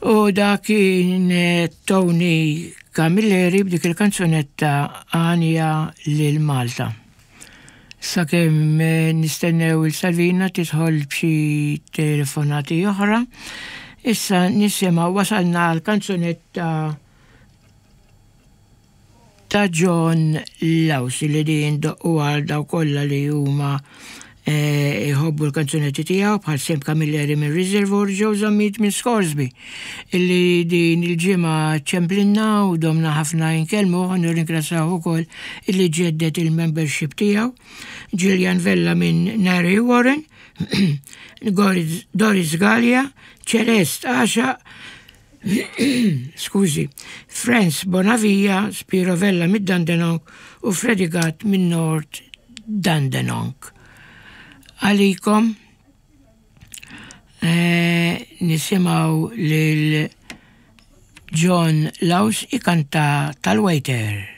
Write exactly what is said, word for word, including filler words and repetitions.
U dak kien eh, Tony Camilleri b'dik il-kanzunetta "Għanja lil Malta". Sakemm eh, nistennew il-Salvina tidħol b'xi telefonati oħra, issa nisimgħu, wasalna l-kanzunetta ta' John Laus li din doqqu għal daw kollha li huma eh, jħobbu l-kanzunetti tiegħu, bħal Sem Camilleri minn Reservoir, Joe Zammit minn Scoresby, illi din il-ġimgħa ċemplinna u domna ħafna inkellmu, nirringrazzjaw ukoll illi ġeddet il-membership tiegħu, Gillian Vella minn Narre Warren, Doris Gallia, Celeste Asha, skużi, Franz Bonavia, Spiro Vella mid Dandenong u Freddy Gatt minn North Dandenong. Għalikom eh, nisimgħu lil John Laus ikanta "Tal-Waiter".